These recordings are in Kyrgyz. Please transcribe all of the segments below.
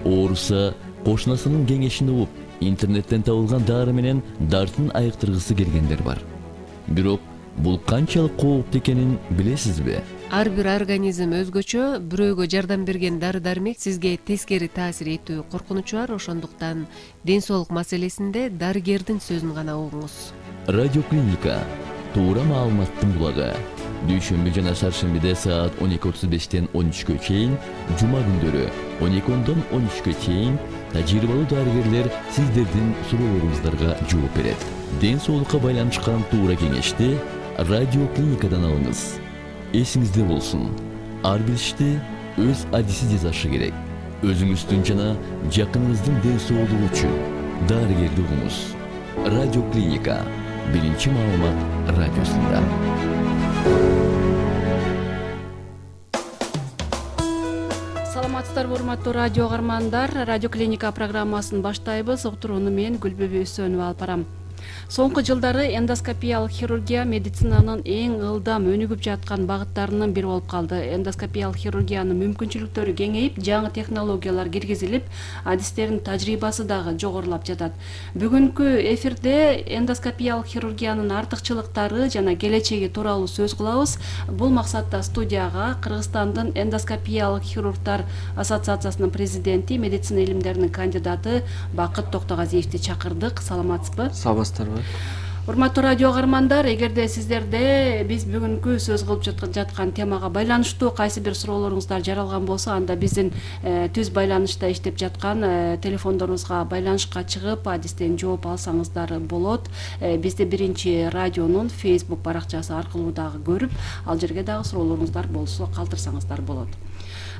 ооруса кошунасынын кеңешин угуп, интернеттен табылган дары менен дартын айыктыргысы келгендер бар. Бирок бул канчалык кооптуу экенин билесизби? Ар бир организм өзгөчө, бирөөгө жардам берген дары-дармек сизге тескери таасир этүү коркунучу бар, ошондуктан ден соолук маселесинде дарыгердин сөзүн гана угуңуз. Радио Клиника туура маалыматтын булагы. Дүйшөмбү жана шаршембиде саат 12:35-тен 13-кө чейин, жума күндөрү 12-дон 13-кө чейин тажрыйбалуу дарыгерлер сиздердин суроолоруңуздарга жооп берет. Ден соолукка байланышкан туура кеңешти Радио Клиникадан алыңыз. Эсиңизде болсун, ар бир ишти өз адиси жасашы керек. Өзүңүздүн жана жакыныңыздын ден соолугу үчүн дарыгерди угуңуз. Радио Клиника, биринчи маалымат радиосунда. Саламатсыздарбы, урматтуу радио каармандар. Радио Клиника программасын баштайбыз. Уктурууну мен Гүлбүбү Өсөнова алып барам. Соңку жылдары эндоскопиялык хирургия медицинанын эң ылдам өнүгүп жаткан багыттарынын бири болуп калды. Эндоскопиялык хирургиянын мүмкүнчүлүктөрү кеңейип, жаңы технологиялар киргизилип, адистердин тажрыйбасы дагы жогорулап жатат. Бүгүнкү эфирде эндоскопиялык хирургиянын артыкчылыктары жана келечеги тууралуу сөз кылабыз. Бул максатта студияга Кыргызстандын эндоскопиялык хирургдар ассоциациясынын президенти, медицина илимдеринин кандидаты Бакыт Токтогазиевди чакырдык. Саламатсызбы? Саламатсыздарбы? Урматтуу радио каармандар, эгерде сиздерде биз бүгүнкү сөз кылып жаткан темага байланыштуу кайсы бир суроолоруңуздар жаралган болсо, анда биздин түз байланышта иштеп жаткан телефондорубузга байланышка чыгып, адистен жооп алсаңыздар болот. Бизди биринчи радионун Facebook баракчасы аркылуу дагы көрүп, ал жерге дагы суроолоруңуздар болсо калтырсаңыздар болот.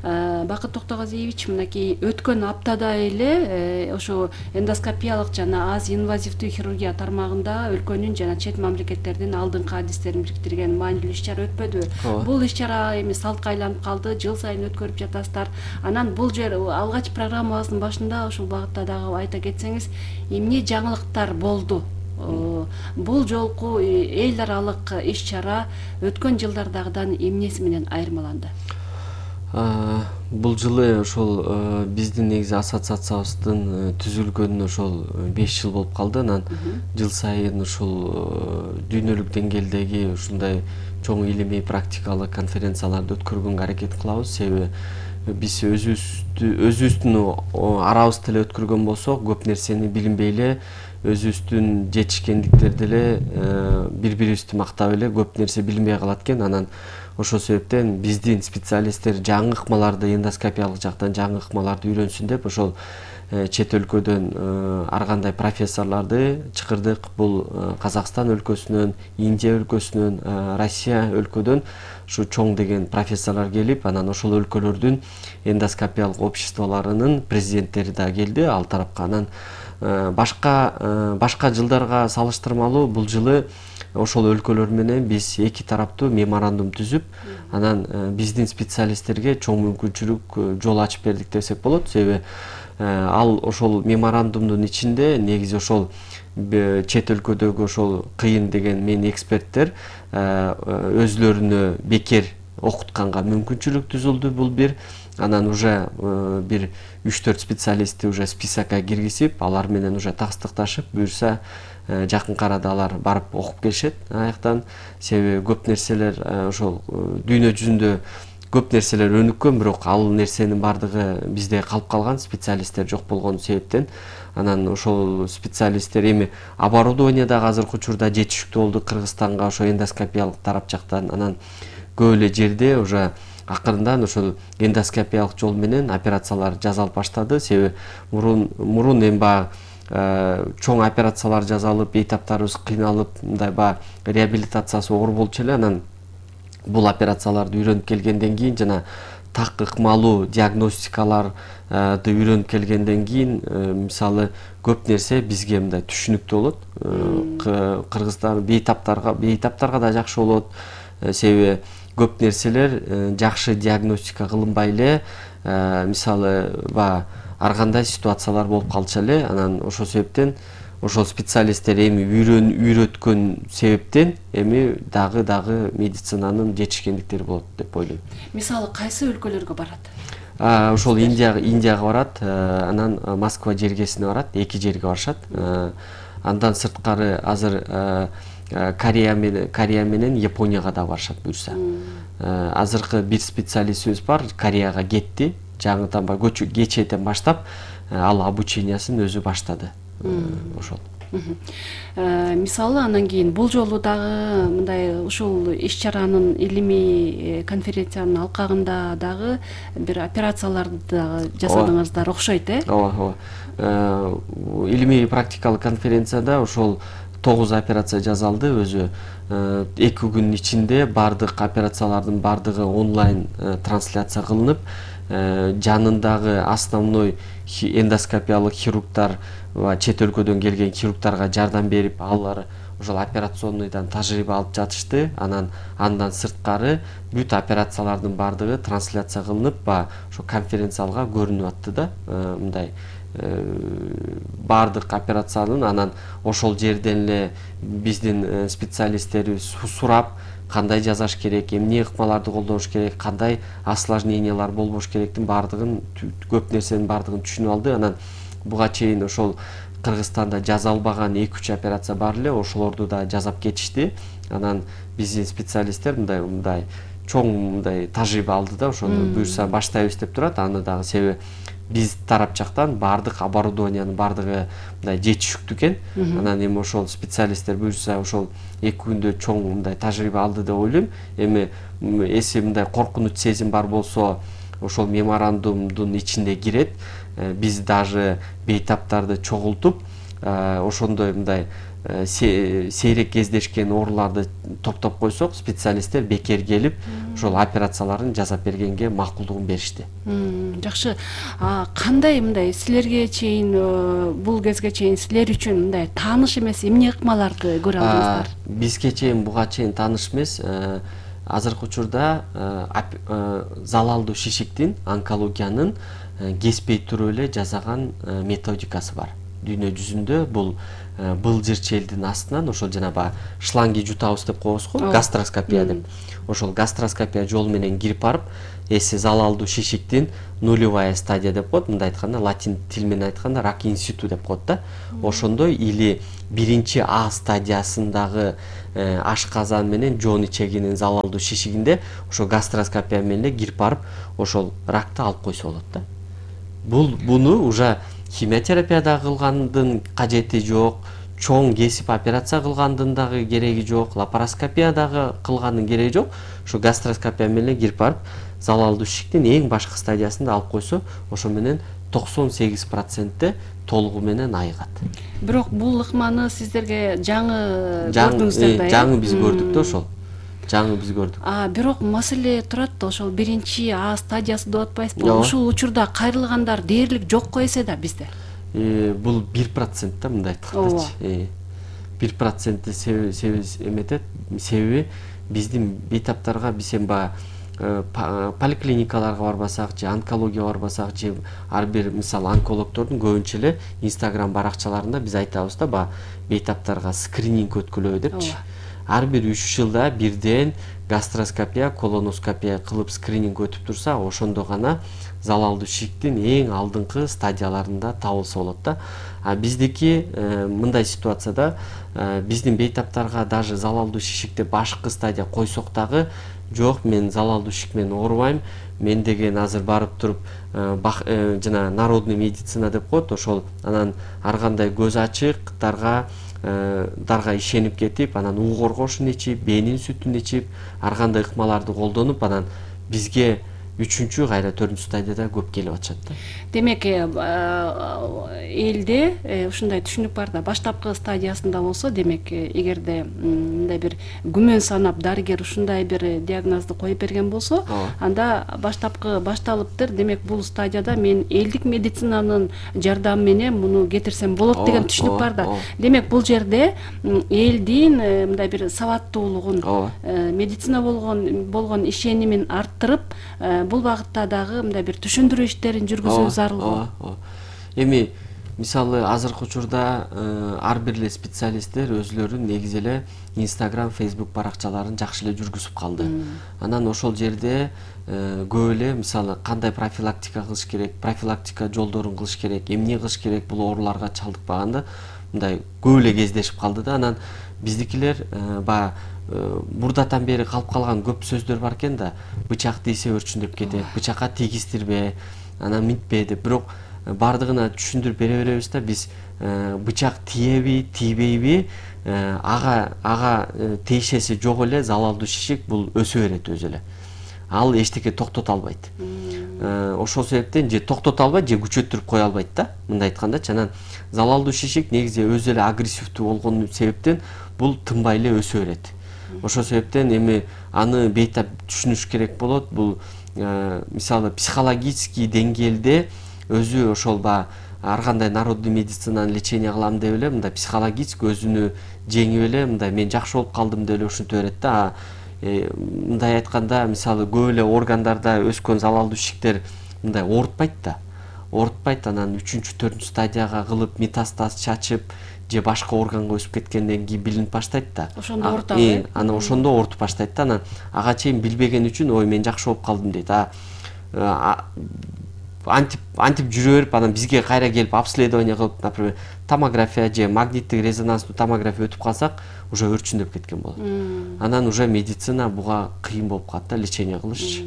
Бакыт Токтогазиевич, мынакей өткөн аптада эле ошо эндоскопиялык жана аз инвазивдүү хирургия тармагында өлкөнүн жана чет мамлекеттердин алдыңкы адистерин бириктирген маанилүү иш-чара өтпөдүбү? Бул иш-чара эми салтка айланып калды, жыл сайын өткөрүп жатасыздар. Анан бул жер алгач программабыздын башында ушул багытта дагы айта кетсеңиз, эмне жаңылыктар болду? Бул жолку эл аралык иш-чара өткөн жылдардагыдан эмнеси менен айырмаланды? Бул жылы ошол биздин негизи ассоциациябыздын түзүлгөнүнө ошол 5 жыл болуп калды. Анан жыл сайын ушул дүйнөлүк деңгээлдеги ушундай чоң илимий практикалык конференцияларды өткөргөнгө аракет кылабыз. Себеби биз өзүбүздүн арабызда эле өткөргөн болсок, көп нерсени билинбей эле, өзүбүздүн жетишкендиктерди эле бири-бирибизди мактап эле көп нерсе билинбей калат экен. Анан ошол себептен биздин специалисттер жаңы ыкмаларды, эндоскопиялык жактан жаңы ыкмаларды үйрөнсүн деп ошол чет өлкөдөн ар кандай профессорлорду чакырдык. Бул Казакстан өлкөсүнөн, Индия өлкөсүнөн, Россия өлкөдөн ушу чоң деген профессорлор келип, анан ошол өлкөлөрдүн эндоскопиялык обществолорунун президенттери да келди ал тарапка. Анан башка жылдарга салыштырмалуу бул жылы ошол өлкөлөр менен биз эки тараптуу меморандум түзүп, анан биздин специалисттерге чоң мүмкүнчүлүк жол ачып бердик десек болот. Себеби ал ошол меморандумдун ичинде негизи ошол чет өлкөдөгү ошол кыйын деген мен эксперттер өзлөрүнө бекер окутканга мүмкүнчүлүк түзүлдү. Бул бир. Анан уже бир 3-4 специалистти уже списокко киргизип, алар менен уже тастыкташып, буюрса жакынкы арада алар барып окуп келишет аяктан. Себеби көп нерселер ошол дүйнө жүзүндө көп нерселер өнүккөн, бирок ал нерсенин бардыгы бизде калып калган, специалисттер жок болгон себептен. Анан ошол специалисттер эми оборудование дагы азыркы учурда жетиштүү болду Кыргызстанга ошо эндоскопиялык тарап жактан. Анан көп эле жерде уже акырындан ошол эндоскопиялык жол менен операциялар жасалып баштады. Себеби мурун эми баягы чоң операциялар жасалып, бейтаптарыбыз кыйналып, мындай баягы реабилитациясы оор болчу эле. Анан бул операцияларды үйрөнүп келгенден кийин жана так ыкмалуу диагностикаларды үйрөнүп келгенден кийин мисалы көп нерсе бизге мындай түшүнүктүү болот. Кыргызстан бейтаптарга да жакшы болот. Себеби көп нерселер жакшы диагностика кылынбай эле, мисалы баягы ар кандай ситуациялар болуп калчу эле. Анан ошол себептен ошол специалисттер эми үйрөткөн себептен эми дагы медицинанын жетишкендиктери болот деп ойлойм. Мисалы кайсы өлкөлөргө барат? Ошол Индияга барат, анан Москва жергесине барат, 2 жерге барышат. Андан сырткары азыр Корея менен Японияга да барышат буюрса. Азыркы бир специалистибиз бар, Кореяга кетти. Жаңыдан кечээден баштап ал обучениясын өзү баштады. Ошол. Мисалы анан кийин бул жолу дагы мындай ушул иш-чаранын илимий конференциянын алкагында дагы бир операцияларды дагы жасадыңыздар окшойт, Ооба. Илимий практикалык конференцияда ошол 9 операция жасалды. Өзү 2 күнүн ичинде бардык операциялардын бардыгы онлайн трансляция кылынып, жанындагы основной эндоскопиялык хирургдар ва чет өлкөдөн келген хирургдарга жардам берип, алар ошол операционныйдан тажрыйба алып жатышты. Андан сырткары бүт операциялардын бардыгы трансляция кылынып, ошо конференциялга көрүнүп атты да. Мындай бардык операциянын анан ошол жерден эле биздин специалисттерибиз сурап, кандай жасаш керек, эмне ыкмаларды колдош керек, кандай осложнениялар болбош керектин бардыгын, көп нерсенин бардыгын түшүнүп алды. Анан буга чейин ошол Кыргызстанда жазалбаган 2-3 операция бар эле, ошолорду да жасап кетишти. Анан биздин специалисттер мындай чоң мындай тажрыйба алды да, ошону буюрса баштайбыз деп турат. Аны дагы себеби биз тарап жактан бардык оборудованиянын бардыгы мындай жетишиктүү экен. Анан эми ошол специалисттер буюрса ошол 2 күндө чоң мындай тажрыйба алды деп ойлойм. Эми эси мындай коркунуч сезим бар болсо, ошол меморандумдун ичинде кирет. Биз даже бейтаптарды чогултуп, ошондой мындай сейрек кездешкен ооруларды топтоп койсок, специалисттер бекер келип, ошол операцияларын жасап бергенге макулдугун беришти. Жакшы. Кандай мындай силерге чейин, бул кезге чейин силер үчүн мындай тааныш эмес эмне ыкмаларды көрө алдыңыздар? Бизге чейин буга чейин тааныш эмес. Азыркы учурда залалдуу шишиктин, онкологиянын кеспей туруп эле жасаган методикасы бар. Дүйнө жүзүндө бул былжыр челдин астынан ошол жанагы шланги жутабыз деп коебуз го, гастроскопия деп. Ошол гастроскопия жолу менен кирип барып, эси залалдуу шишиктин нулевая стадия деп коет. Мындай айтканда, латин тил менен айтканда рак инситу деп коет да. Ошондой или биринчи А стадиясындагы ашказан менен жон ичегинин залалдуу шишигинде ошол гастроскопия менен эле кирип барып, ошол ракты алып койсо болот да. Буну уже химиотерапияда кылгандын кажети жок, чоң кесип операция кылгандын дагы кереги жок, лапароскопиядагы кылгандын кереги жок. Ошо гастроскопия менен кирип барып, залалдуу шишиктин эң башкы стадиясында алып койсо, ошо менен 98% толугу менен айыгат. Бирок бул ыкманы сиздерге жаңы көрдүңүздөр да? Жаңы биз көрдүк да ошол. Жаңы биз көрдүк. Бирок маселе турат да, ошол биринчи А стадиясы деп атпайсызбы? Ушул учурда кайрылгандар дээрлик жок эсе да бизде. Бул 1% да, мындай айткандачы. 1% себеби эметет. Себеби биздин бейтаптарга биз эми поликлиникаларга барбасак же онкологияга барбасак же ар бир мисалы онкологдордун көбүнчө эле Instagram баракчаларында биз айтабыз да, бейтаптарга скрининг өткүлөбү депчи. Ар бир 3 жылда бирден гастроскопия, колоноскопия кылып скрининг өтүп турса, ошондо гана залалдуу шишиктин эң алдыңкы стадияларында табылса болот да. Биздики мындай ситуацияда биздин бейтаптарга даже залалдуу шишикти башкы стадия койсок дагы, жок, мен залалдуу шишик менен оорубайм, мен деген азыр барып туруп жана народный медицина деп коет, ошол анан ар кандай көз ачыктарга ишенип кетип, анан уу коргошун ичип, бээнин сүтүн ичип, ар кандай ыкмаларды колдонуп, анан бизге 3-4 стадияда көп келип атышат да. Демек, элде ушундай түшүнүк бар да, баштапкы стадиясында болсо, демек, эгерде мындай бир күмөн санап дарыгер ушундай бир диагнозду коюп берген болсо, анда башталыптыр. Демек, бул стадияда мен элдик медицинанын жардамы менен муну кетирсем болот деген түшүнүк бар да. Демек, бул жерде элдин мындай бир сабаттуулугун, медицина болгон ишенимин арттырып, бул багытта дагы мындай бир түшүндүрүү иштерин жүргүзүү зарыл. Эми мисалы азыркы учурда ар бир эле специалисттер өзүлөрүнүн негизи эле Instagram, Facebook баракчаларын жакшы эле жүргүзүп калды. Анан ошол жерде көп эле мисалы кандай профилактика кылыш керек, профилактика жолдорун кылыш керек, эмне кылыш керек бул ооруларга чалдыкпаганды мындай көп эле кездешип калды да. Анан биздикилер баягы мурдатан бери калып калган көп сөздөр бар экен да. Бычак тийсе өрчүндөп кетет, бычакка тийгизтирбе, анан мынтпе деп. Бирок бардыгына түшүндүрүп бере беребиз да, биз бычак тиеби, тийбейби, ага тиешеси жок эле залалдуу шишик бул өсө берет өзү эле. Ал эчтеке токтото албайт. Ошол себептен же токтото албайт, же күчөттүрүп кое албайт да, мындай айткандачы. Анан залалдуу шишик негизи өзү эле агрессивдүү болгон себептен бул тынбай эле өсө берет. Ошол себептен эми аны бейтап түшүнүш керек болот. Бул мисалы психологический деңгээлде өзү ошол ар кандай народный медицинаны лечение кылам деп эле мындай психологически өзүнү жеңип эле мындай мен жакшы болуп калдым деп эле ушинте берет да. Мындай айтканда мисалы көп эле органдарда өскөн залалдуу шишиктер мындай оорутпайт да. Оорутпайт, анан 3-4 стадияга кылып метастаз чачып же башка органга өсүп кеткенден кийин билинип баштайт да. Ошондо оорутабы? Анан ошондо оорутуп баштайт да. Анан ага чейин билбеген үчүн ой мен жакшы болуп калдым дейт. Антип жүрө берип анан бизге кайра келип обследование кылып, например, томография же магниттик резонанстуу томография өтүп калсак, уже өрчүндөп кеткен болот. Анан уже медицина буга кыйын болуп калат да, лечение кылыш.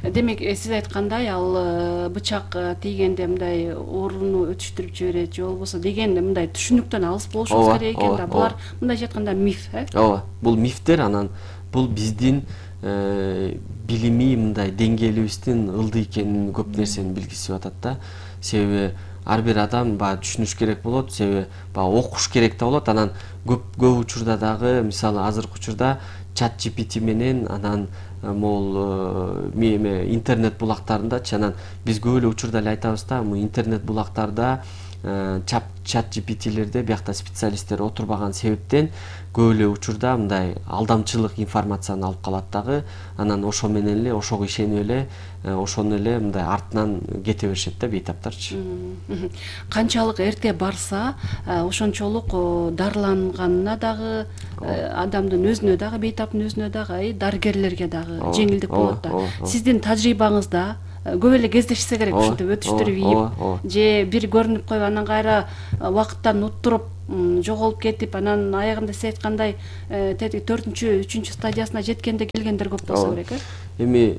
Демек, сиз айткандай, ал бычак тийгенде мындай ооруну өтүштүрүп жиберет же болбосо дегенде мындай түшүнүктөн алыс болушубуз керек экен да. Булар мындайча айтканда миф, Ооба, бул мифтер, анан бул биздин билимий мындай деңгээлибиздин ылдый экенин көп нерсени билгизип атат да. Себеби ар бир адам түшүнүш керек болот, себеби окуш керек да болот. Анан көп учурда дагы мисалы азыркы учурда чат GPT менен анан могул интернет булактарындачы, анан биз көп эле учурда эле айтабыз да, интернет булактарда чат GPT'лерде биякта специалисттер отурбаган себептен көп эле учурда мындай алдамчылык информацияны алып калат дагы. Анан ошо менен эле ошого ишенип эле ошону эле мындай артынан кете беришет да бейтаптарчы. Канчалык эрте барса, ошончолук дарыланганына дагы, адамдын өзүнө дагы, бейтаптын өзүнө дагы, дарыгерлерге дагы жеңилдик болот да. Сиздин тажрыйбаңызда көп эле кездешсе керек ушинтип өтүштүрүп ийип, же бир көрүнүп коюп анан кайра убакыттан уттуруп жоголуп кетип, анан аягында сиз айткандай 4-3 стадиясына жеткенде келгендер көп болсо керек, Эми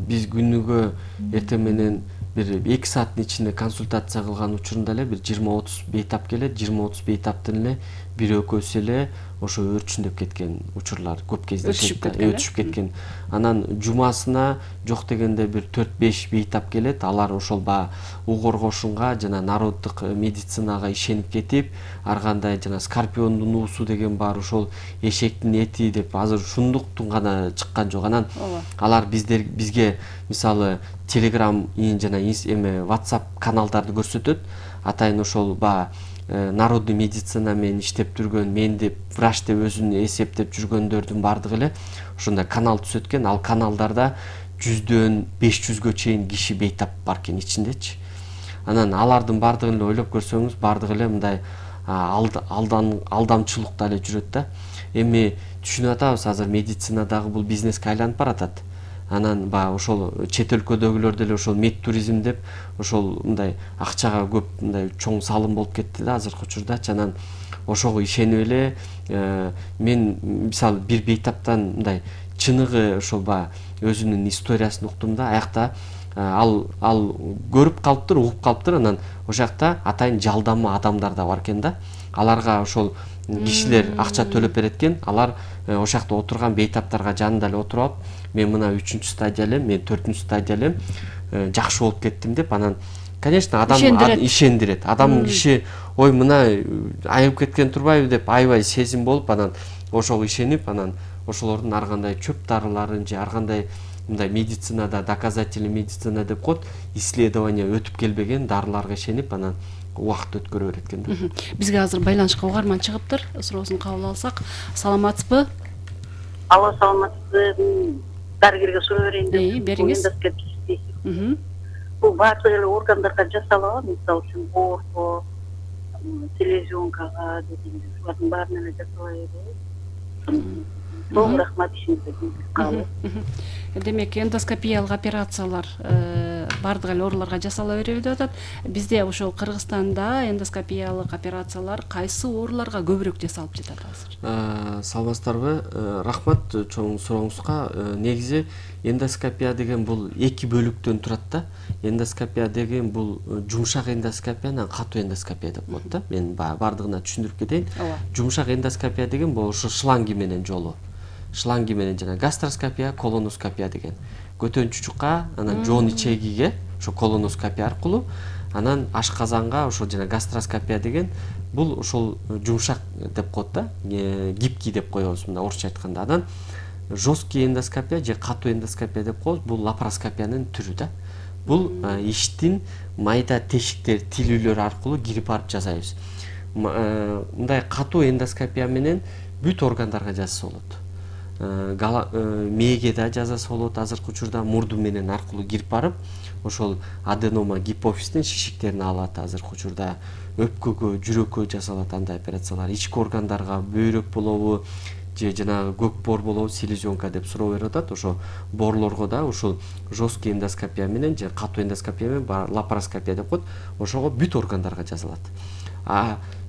биз күнүгө эртең менен бир 2 сааттын ичинде консультация кылган учурунда эле бир 20-30 бейтап келет. 20-30 бейтаптын эле бир экөөсү эле ошо өрчүндөп кеткен учурлар көп кездешет, өтүшүп кеткен. Анан жумасына жок дегенде бир 4-5 бейтап келет. Алар ошол угоргошунга жана народдук медицинага ишенип кетип, ар кандай жана скорпиондун уусу деген бар, ошол эшектин эти деп азыр ушундуктун гана чыккан жок. Анан алар бизге мисалы Telegram жана WhatsApp каналдарды көрсөтөт. Атайын ошол народный медицина менен иштеп жүргөн, мен деп врач деп өзүн эсептеп жүргөндөрдүн бардыгы эле ошондой канал түзөткөн. Ал каналдарда 100дөн 500гө чейин киши бейтап бар экен ичиндечи. Анан алардын бардыгын эле ойлоп көрсөңүз, бардыгы эле мындай алдамчылыкта эле жүрөт да. Эми түшүнүп атабыз, азыр медицина дагы бул бизнеске айланып баратат. Анан ошол чет өлкөдөгүлөр деле ошол мед туризм деп ошол мындай акчага көп мындай чоң салым болуп кетти да азыркы учурдачы. Анан ошого ишенип эле мен мисалы бир бейтаптан мындай чыныгы ошол өзүнүн историясын уктум да. Аякта ал көрүп калыптыр, угуп калыптыр. Анан ошол жакта атайын жалдама адамдар да бар экен да. Аларга ошол кишилер акча төлөп берет экен. Алар ошол жакта отурган бейтаптарга жанында эле отуруп алып, мен мына 3-стадия элем, мен 4-стадия элем, жакшы болуп кеттим деп. Анан конечно адам ишендирет. Адам киши ой мына айыгып кеткен турбайбы деп аябай сезим болуп, анан ошого ишенип, анан ошолордун ар кандай чөп дарыларын же ар кандай мындай медицинада доказательный медицина деп коет, исследование өтүп келбеген дарыларга ишенип, анан убакыт өткөрө берет экен да. Бизге азыр байланышка угарман чыгыптыр. Суроосун кабыл алсак. Саламатсызбы? Алло, саламатсызбы? Дарыгерге суроо берейин деп. Бериңиз. бул баардык эле органдарга жасалабы, мисалы үчүн боорго, селезенкага дегенде булардын баарына эле жасала береби? Чоң рахмат, ишиңизге тийгизип калып. Демек эндоскопиялык операциялар баардык эле ооруларга жасала береби деп атат. Бизде ошол Кыргызстанда эндоскопиялык операциялар кайсы ооруларга көбүрөөк жасалып жатат азыр? Саламатсыздарбы? Рахмат чоң сурооңузга. Негизи эндоскопия деген бул эки бөлүктөн турат да. Эндоскопия деген бул жумшак эндоскопия менен катуу эндоскопия деп коет да. Мен баардыгына түшүндүрүп кетейин. Жумшак эндоскопия деген бул ошо шланги менен жолу. Шланги менен жана гастроскопия, колоноскопия деген. Көтөн чучукка, анан жоон ичегиге ошо колоноскопия аркылуу, анан ашказанга ошо жана гастроскопия деген бул ошол жумшак деп коет да, гибкий деп коебуз мына орусча айтканда. Анан жесткий эндоскопия же катуу эндоскопия деп коебуз, бул лапароскопиянын түрү да. Бул иштин майда тешиктер, тилүүлөр аркылуу кирип барып жасайбыз. Мындай катуу эндоскопия менен бүт органдарга жасаса болот. Мээге да жасаса болот, азыркы учурда мурду менен аркылуу кирип барып, ошол аденома гипофиздин шишиктерин алат. Азыркы учурда өпкөгө, жүрөккө жасалат андай операциялар. Ички органдарга бөйрөк болобу, же жанагы көк боор болобу, селезенка деп суроо берип атат. Ошо боорлорго да ушул жесткий эндоскопия менен же катуу эндоскопия менен лапароскопия деп коет. Ошого бүт органдарга жасалат.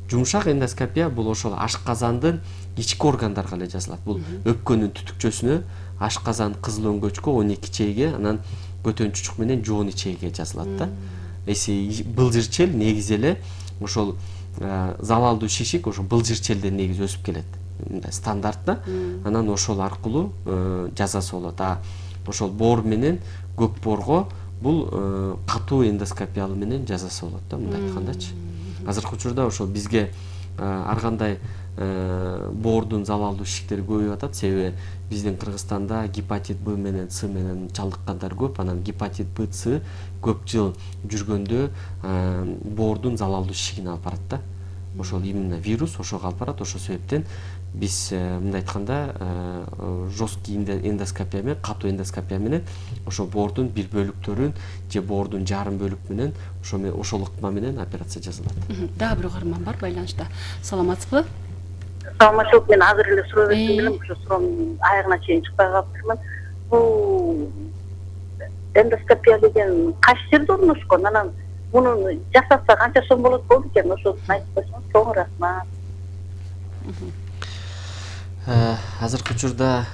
Жумшак эндоскопия бул ошол ашказандын ички органдарга эле жасалат. Бул өпкөнүн түтүкчөсүнө, ашказан кызыл өңгөчкө, 12 чейге, анан көтөн чучук менен жоон ичегиге жасалат да. Эси былжырчел негизи эле ошол залалдуу шишик ошо былжырчелден негизи өсүп келет. Мындай стандарт да. Анан ошол аркылуу жасаса болот. Ошол боор менен көк боорго бул катуу эндоскопиялы менен жасаса болот да, мындай айткандачы. Азыркы учурда ошол бизге ар кандай боордун залалдуу шишиктери көбөйүп атат. Себеби биздин Кыргызстанда гепатит Б менен С менен чалдыккандар көп. Анан гепатит Б, С көп жыл жүргөндө боордун залалдуу шишигин алып барат да. Ошол именно вирус ошого алып барат. Ошол себептен биз мындай айтканда жесткий эндоскопия менен, катуу эндоскопия менен ошо боордун бир бөлүктөрүн же боордун жарым бөлүк менен ошол ыкма менен операция жасалат. Дагы бир угарман бар байланышта. Саламатсызбы? Саламатчылык, мен азыр эле суроо бердим элем, ошо суроомдун аягына чейин чыкпай калыптырмын. Бул эндоскопия деген кайсы жерде орношкон? Анан муну жасатса канча сом болот болду экен? Ошону айтып койсоңуз чоң рахмат. Азыркы учурда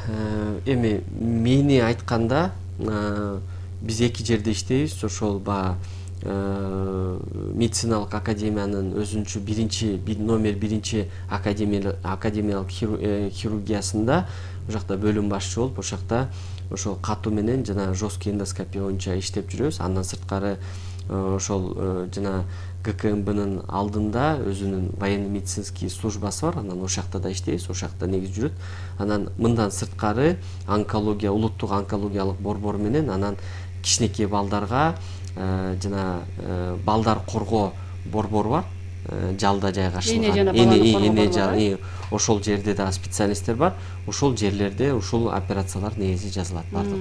эми мени айтканда биз эки жерде иштейбиз. Ошол медициналык академиянын өзүнчө номер 1 академиялык хирургиясында ошол жакта бөлүм башчы болуп, ошол жакта ошол катуу менен жана жесткий эндоскопия боюнча иштеп жүрөбүз. Андан сырткары ошол жана ГКМБнын алдында өзүнүн военный медицинский службасы бар. Анан ошол жакта да иштейбиз, ошол жакта негизи жүрөт. Анан мындан сырткары онкология, улуттук онкологиялык борбор менен анан кичинекей балдарга жана балдар коргоо борбору бар. Жалда жайгашылган. Эне ошол жерде да специалисттер бар. Ошол жерлерде ушул операциялар негизи жасалат бардык.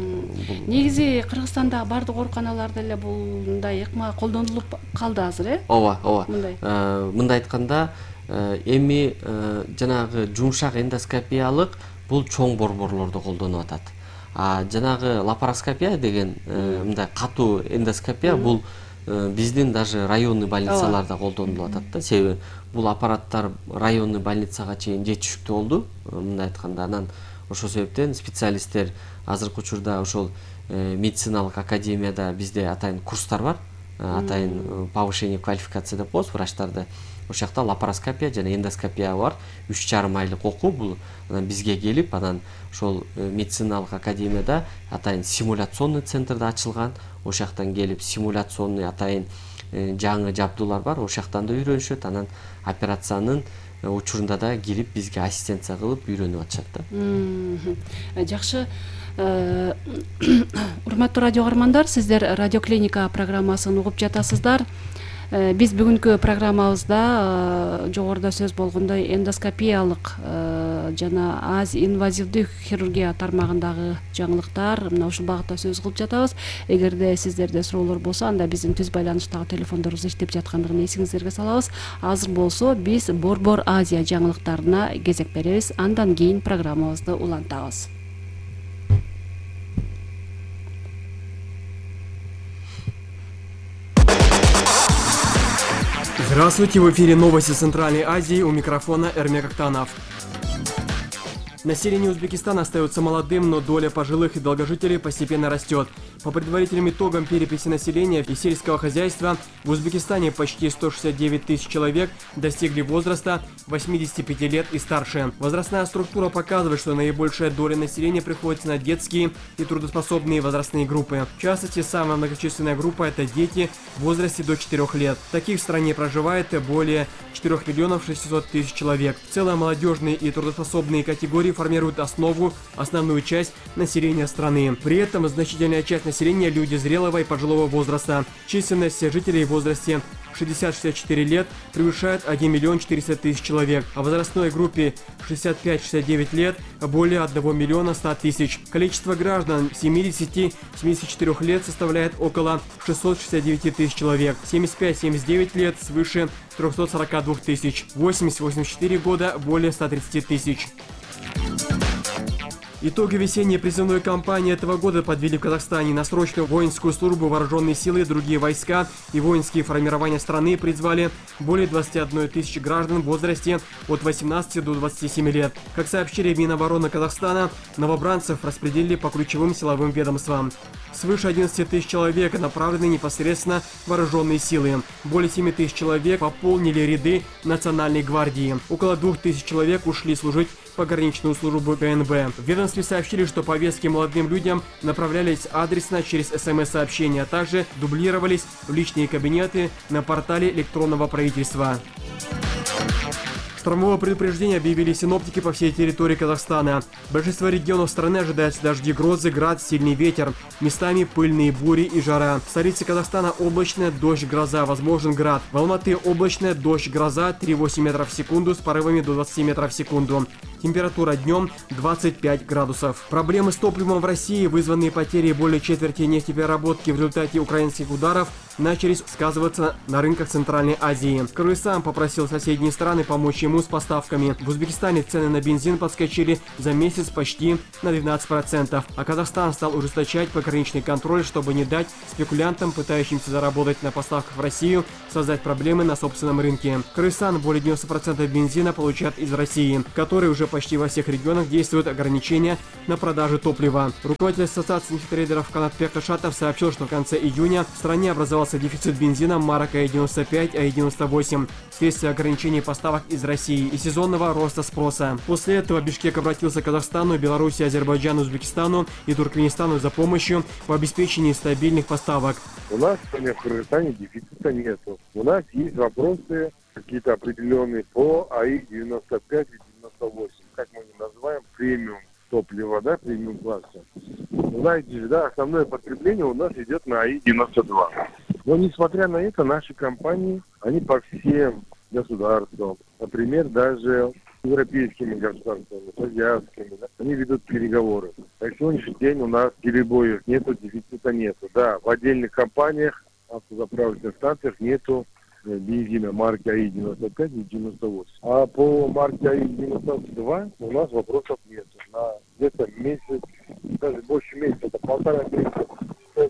Негизи Кыргызстанда бардык ооруканаларда эле мындай ыкма колдонулуп калды азыр, Ооба. Мындай айтканда, эми жанагы жумшак эндоскопиялык бул чоң борборлордо колдонуп атат. Жанагы лапароскопия деген мындай катуу эндоскопия бул биздин даже районный больницаларда колдонулуп атат да. Себеби бул аппараттар районный больницага чейин жетишиктүү болду, мындай айтканда. Анан ошол себептен специалисттер азыркы учурда ошол медициналык академияда бизде атайын курстар бар. Атайын повышение квалификации деп коебуз врачтарды. Ошол жакта лапароскопия жана эндоскопия бар. 3,5 айлык окуу бул. Анан бизге келип, анан ошол медициналык академияда атайын симуляционный центрде ачылган. Ошол жактан келип симуляционный атайын жаңы жабдуулар бар. Ошол жактан да үйрөнүшөт. Анан операциянын учурунда да кирип бизге ассистенция кылып үйрөнүп атышат да. Жакшы. Урматтуу радио каармандар, сиздер Радио Клиника программасын угуп жатасыздар. Биз бүгүнкү программабызда жогоруда сөз болгондой эндоскопиялык жана инвазивдүү хирургия тармагындагы жаңылыктар мына ушул багытта сөз кылып жатабыз. Эгерде сиздерде суроолор болсо, анда биздин түз байланыштагы телефондорубуз иштеп жаткандыгын эсиңиздерге салабыз. Азыр болсо биз Борбор Азия жаңылыктарына кезек беребиз. Андан кийин программабызды улантабыз. Здравствуйте, в эфире новости Центральной Азии, у микрофона Эрмек Актанов. Население Узбекистана остается молодым, но доля пожилых и долгожителей постепенно растет. По предварительным итогам переписи населения и сельского хозяйства в Узбекистане почти 169 тысяч человек достигли возраста 85 лет и старше. Возрастная структура показывает, что наибольшая доля населения приходится на детские и трудоспособные возрастные группы. В частности, самая многочисленная группа – это дети в возрасте до 4 лет. Таких в стране проживает более 4 миллионов 600 тысяч человек. В целом, молодежные и трудоспособные категории формируют основную часть населения страны. При этом значительная часть населения – люди зрелого и пожилого возраста. Численность жителей в возрасте 60-64 лет превышает 1 миллион 400 тысяч человек, а в возрастной группе 65-69 лет более 1 миллиона 100 тысяч. Количество граждан 70-74 лет составляет около 669 тысяч человек, 75-79 лет свыше 342 тысяч, 80-84 года более 130 тысяч. Итоги весенней призывной кампании этого года подвели в Казахстане. На срочную воинскую службу вооруженные силы, другие войска и воинские формирования страны призвали более 21 тысячи граждан в возрасте от 18 до 27 лет. Как сообщили в Минобороны Казахстана, новобранцев распределили по ключевым силовым ведомствам. Свыше 11 тысяч человек направлены непосредственно в вооруженные силы. Более 7 тысяч человек пополнили ряды Национальной гвардии. Около 2 тысяч человек ушли служить в пограничную службу КНБ. В ведомстве сообщили, что повестки молодым людям направлялись адресно через СМС-сообщения, а также дублировались в личные кабинеты на портале электронного правительства. Штормовое предупреждение объявили синоптики по всей территории Казахстана. В большинстве регионов страны ожидаются дожди, грозы, град, сильный ветер. Местами пыльные бури и жара. В столице Казахстана облачная, дождь, гроза, возможен град. В Алматы облачная, дождь, гроза, 3,8 метров в секунду с порывами до 20 метров в секунду. Температура днем 25 градусов. Проблемы с топливом в России, вызванные потерей более четверти нефтепереработки в результате украинских ударов, начали сказываться на рынках Центральной Азии. Кыргызстан попросил соседние страны помочь ему с поставками. В Узбекистане цены на бензин подскочили за месяц почти на 12%, а Казахстан стал ужесточать пограничный контроль, чтобы не дать спекулянтам, пытающимся заработать на поставках в Россию, создать проблемы на собственном рынке. Кыргызстан более 90% бензина получает из России, который уже почти во всех регионах действуют ограничения на продажу топлива. Руководитель ассоциации нефтетрейдеров Канатбек Ташатов сообщил, что в конце июня в стране образовался дефицит бензина марок АИ-95, АИ-98 вследствие ограничений поставок из России и сезонного роста спроса. После этого Бишкек обратился к Казахстану, Беларуси, Азербайджану, Узбекистану и Туркменистану за помощью в обеспечении стабильных поставок. У нас сегодня в Кыргызстане дефицита нету. У нас есть вопросы какие-то определенные по АИ-95 и 98, как мы их называем, премиум топлива, да, премиум класса. Знаете, да, основное потребление у нас идет на АИ-92. Но несмотря на это, наши компании, они по всем государствам, например, даже европейскими государствами, азиатскими, да, они ведут переговоры. На сегодняшний день у нас перебоев нету, дефицита нету. Да, в отдельных компаниях, автозаправочных станциях нету бензина марки АИ-95 и 98. А по марке АИ-92 у нас вопросов нет. На где-то месяц, даже больше месяца, это 1,5 месяца,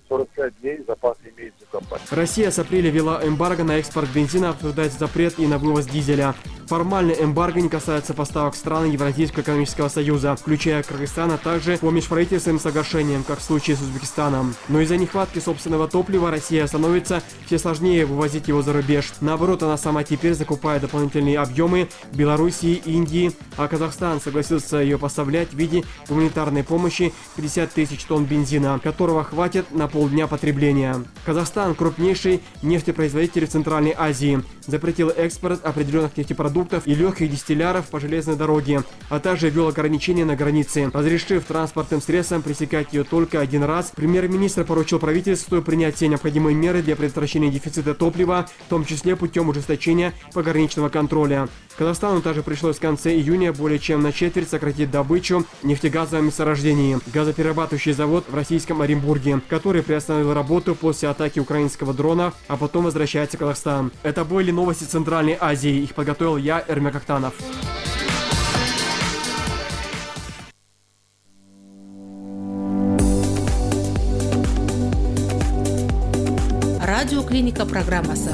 45 дней запас имеется у компании. Россия с апреля ввела эмбарго на экспорт бензина, обсуждается запрет и на вывоз дизеля. Формально эмбарго не касается поставок стран Евразийского экономического союза, включая Кыргызстан, а также по межправительственным соглашениям, как в случае с Узбекистаном. Но из-за нехватки собственного топлива Россия становится все сложнее вывозить его за рубеж. Наоборот, она сама теперь закупает дополнительные объемы в Белоруссии, Индии, а Казахстан согласился ее поставлять в виде гуманитарной помощи 50 тысяч тонн бензина, которого хватит на полдня потребления. Казахстан, крупнейший нефтепроизводитель в Центральной Азии, запретил экспорт определенных нефтепродуктов продуктов и легких дистилляров по железной дороге, а также ввел ограничения на границе, разрешив транспортным средствам пресекать ее только один раз. Премьер-министр поручил правительству принять все необходимые меры для предотвращения дефицита топлива, в том числе путем ужесточения пограничного контроля. Казахстану также пришлось в конце июня более чем на четверть сократить добычу нефтегазового месторождения. Газоперерабатывающий завод в российском Оренбурге, который приостановил работу после атаки украинского дрона, а потом возвращается в Казахстан. Это были новости Центральной Азии. Их подготовил я, Эрмек Актанов. Радиоклиника программасы.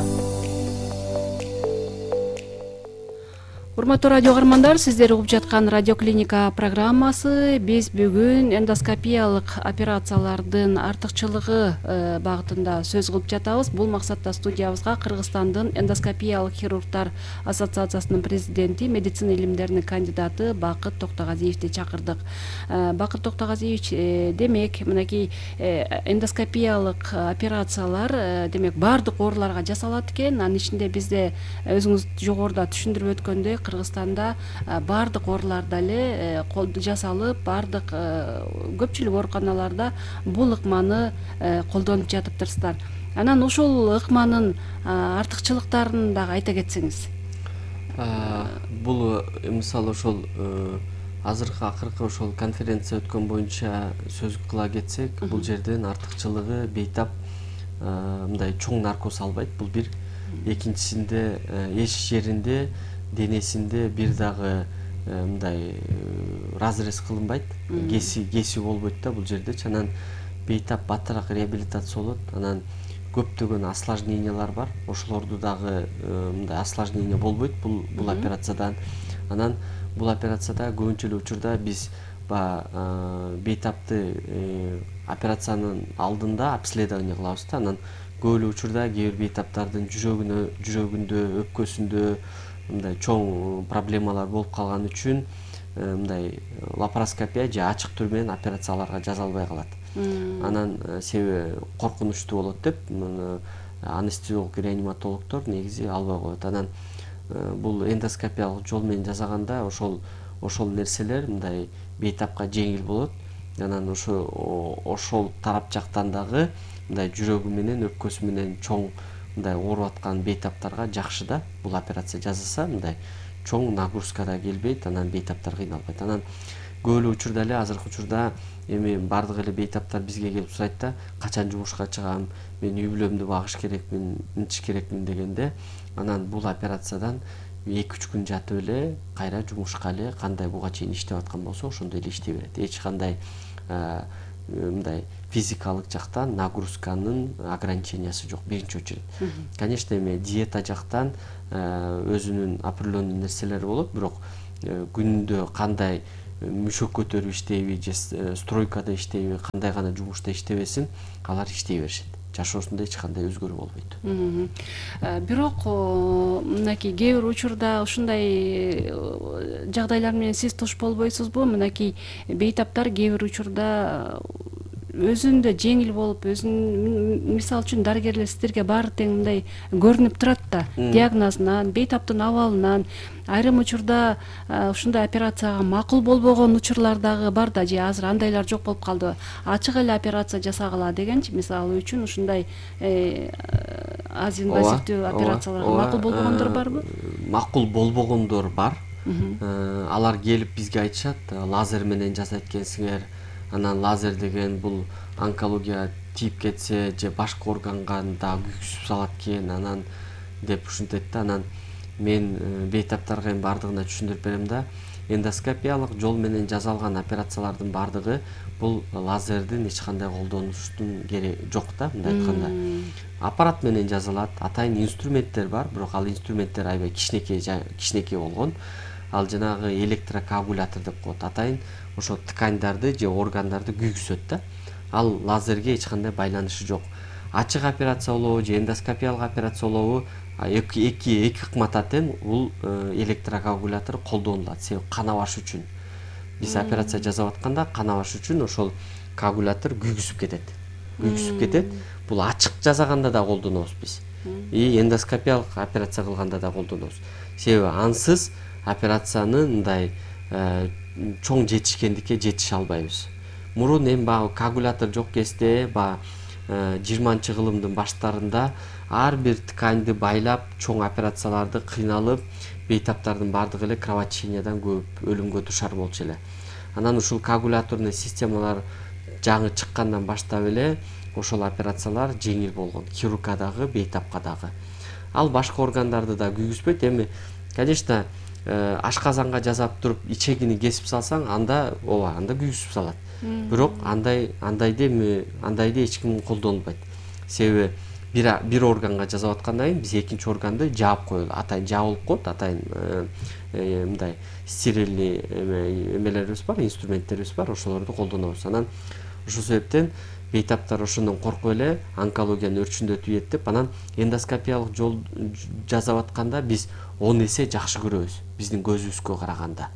Урматтуу радио каармандар, сиздер угуп жаткан радиоклиника программасы. Биз бүгүн эндоскопиялык операциялардын артыкчылыгы багытында сөз кылып жатабыз. Бул максатта студиябызга Кыргызстандын эндоскопиялык хирургтар ассоциациясынын президенти, медицина илимдеринин кандидаты Бакыт Токтогазиевди чакырдык. Бакыт Токтогазиевич, демек мынакей эндоскопиялык операциялар демек баардык ооруларга жасалат экен. Анын ичинде бизде өзүңүз жогоруда түшүндүрүп өткөндөй Кыргызстанда баардык ооруларда эле жасалып, баардык көпчүлүк ооруканаларда бул ыкманы колдонуп жатыптырсыздар. Анан ошол ыкманын артыкчылыктарын дагы айта кетсеңиз. Бул мисалы ошол акыркы ошол конференция өткөн боюнча сөз кыла кетсек, бул жерден артыкчылыгы бейтап мындай чоң наркоз албайт. Бул бир. Экинчисинде эч жеринде денесинде бир дагы мындай разрез кылынбайт, кеси болбойт да бул жердечи. Анан бейтап баттыраак реабилитация болот. Анан көптөгөн осложнениялар бар. Ошолорду дагы мындай осложнение болбойт бул операциядан. Анан бул операцияда көбүнчө эле учурда биз бейтапты операциянын алдында обследование кылабыз да. Анан көп эле учурда кээ бир бейтаптардын жүрөгүндө, өпкөсүндө мындай чоң проблемалар болуп калган үчүн мындай лапароскопия же ачык түрү менен операцияларга жазалбай калат. Анан себеби коркунучтуу болот деп анестезиолог, реаниматологдор негизи албай коет. Анан бул эндоскопиялык жол менен жасаганда ошол нерселер мындай бейтапка жеңил болот. Анан ошол тарап жактан дагы мындай жүрөгү менен, өпкөсү менен чоң мындай ооруп аткан бейтаптарга жакшы да бул операция жасаса, мындай чоң нагрузка да келбейт, анан бейтаптар кыйналбайт. Анан көп эле учурда эле азыркы учурда эми бардык эле бейтаптар бизге келип сурайт да, качан жумушка чыгам, мен үй бүлөмдү багыш керекмин, мынтиш керекмин дегенде, анан бул операциядан 2-3 күн жатып эле кайра жумушка эле кандай буга чейин иштеп аткан болсо ошондой эле иштей берет. Эч кандай мындай физикалык жактан нагрузканын ограничениясы жок биринчи очередь. Конечно, эми диета жактан өзүнүн определенный нерселери болот, бирок күндө кандай мүшөк көтөрүп иштейби же стройкада иштейби, кандай гана жумушта иштебесин, алар иштей беришет. Жашоосунда эч кандай өзгөрүү болбойт. Бирок мынакей кээ бир учурда ушундай жагдайлар менен сиз туш болбойсузбу? Мынакей бейтаптар кээ бир учурда өзүндө жеңил болуп, мисалы үчүн дарыгерлер сиздерге баары тең мындай көрүнүп турат да, диагнозунан, бейтаптын абалынан. Айрым учурда ушундай операцияга макул болбогон учурлар дагы бар да, же азыр андайлар жок болуп калды. Ачык эле операция жасагыла дегенчи, мисалы үчүн ушундай аз инвазивдүү операцияларга макул болбогондор барбы? Макул болбогондор бар. Алар келип бизге айтышат, лазер менен жасайт экенсиңер. Анан лазер деген бул онкология тип кетсе же башка органга да күйгүзүп салат экен, анан деп ушинтет да. Анан мен бейтаптарга эми бардыгына түшүндүрүп берем да. Эндоскопиялык жол менен жасалган операциялардын бардыгы бул лазердин эч кандай колдонуштун кереги жок да, мындай айтканда. Аппарат менен жасалат, атайын инструменттер бар, бирок ал инструменттер аябай кичинекей болгон. Ал жанагы электрокоагулятор деп коет. Атайын ошо ткандарды же органдарды күйгүзөт да. Ал лазерге эч кандай байланышы жок. Ачык операция болобу же эндоскопиялык операция болобу, эки ыкмата тең бул электрокоагулятор колдонулат. Себеби кан абаш үчүн. Биз операция жасап атканда кан абаш үчүн ошол коагулятор күйгүзүп кетет. Бул ачык жасаганда да колдонобуз биз. и эндоскопиялык операция кылганда да колдонобуз. Себеби ансыз операцияны мындай чоң жетишкендикке жетише албайбыз. Мурун эми баягы коагулятор жок кезде, баягы 20-кылымдын баштарында ар бир тканьды байлап, чоң операцияларды кыйналып, бейтаптардын бардыгы эле кровотечениядан көп өлүмгө дуушар болчу эле. Анан ушул коагуляторный системалар жаңы чыккандан баштап эле ошол операциялар жеңил болгон, хирургка дагы, бейтапка дагы. Ал башка органдарды да күйгүзбөйт. Эми, конечно, ашказанга жасап туруп ичегини кесип салсаң, анда күйгүзүп салат. Бирок андайды эч ким колдонбойт. Себеби бир органга жасап аткандан кийин биз экинчи органды жаап коелу. Атайын жабылып коет, атайын мындай стерильный эмелерибиз бар, инструменттерибиз бар, ошолорду колдонобуз. Анан ошол себептен бейтаптар ошондон коркуп эле онкологиянын өрчүндөтүп ийет деп, анан эндоскопиялык жол жасап атканда биз 10 эсе жакшы көрөбүз биздин көзүбүзгө караганда.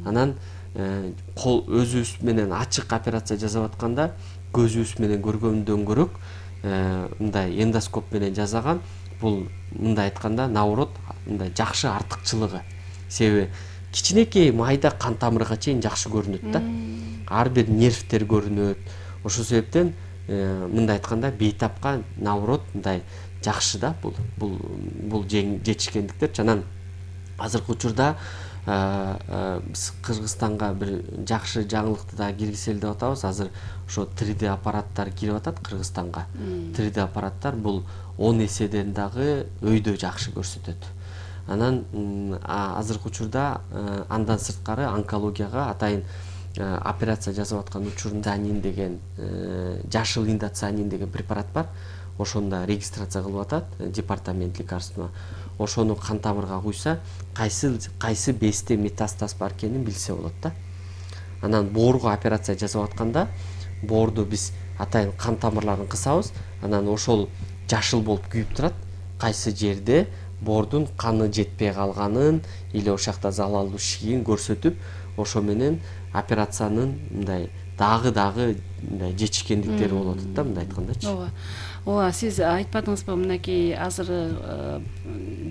Анан өзүбүз менен ачык операция жасап атканда көзүбүз менен көргөндөн көрөк мындай эндоскоп менен жасаган бул мындай айтканда наоборот мындай жакшы артыкчылыгы. Себеби кичинекей майда кан тамырга чейин жакшы көрүнөт да. Ар бир нервтер көрүнөт. Ошол себептен мындай айтканда бейтапка наоборот мындай жакшы да бул жетишкендиктерчи. Анан азыркы учурда биз Кыргызстанга бир жакшы жаңылыкты да киргизели деп атабыз. Азыр ошо 3D аппараттар кирип атат Кыргызстанга. 3D аппараттар бул 10 эседен дагы өйдө жакшы көрсөтөт. Анан азыркы учурда андан сырткары онкологияга атайын операция жасап аткан учурунда деген жашыл индоцианин деген препарат бар. Ошондо регистрация кылып атат департамент лекарства. Ошону кан тамырга куйса, кайсы безде метастаз бар экенин билсе болот да. Анан боорго операция жасап атканда боорду биз атайын кан тамырларын кысабыз, анан ошол жашыл болуп күйүп турат. Кайсы жерде боордун каны жетпей калганын или ошакта залалдуу шигин көрсөтүп, ошо менен операциянын мындай дагы мындай жетишкендиктери болуп атат да, мындай айткандачы. Ооба, сиз айтпадыңызбы, мынакей азыр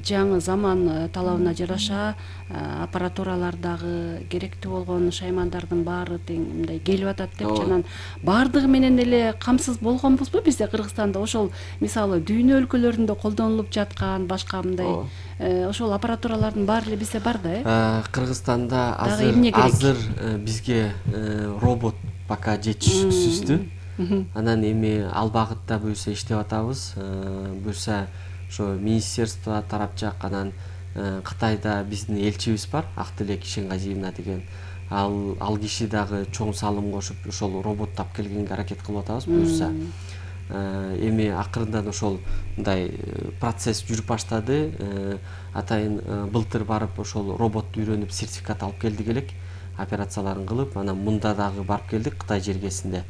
жаңы заман талабына жараша аппаратуралар дагы керектүү болгон шаймандардын баары тең мындай келип атат депчи. Анан баардыгы менен эле камсыз болгонбузбу бизде Кыргызстанда? Ошол мисалы дүйнө өлкөлөрүндө колдонулуп жаткан башка мындай ошол аппаратуралардын баары эле бизде бар да, Кыргызстанда азыр бизге робот пока жетишсиздүү. Анан эми ал багытта буюрса иштеп атабыз. Буюрса ошо министерство тарапчак, анан Кытайда биздин элчибиз бар, Актилек Ишенгазиевна деген. Ал киши дагы чоң салым кошуп ошол роботту алып келгенге аракет кылып атабыз. Буюрса эми акырындан ошол мындай процесс жүрүп баштады. Атайын былтыр барып ошол роботту үйрөнүп сертификат алып келдик элек, операцияларын кылып, анан мында дагы барып келдик Кытай жергесинде.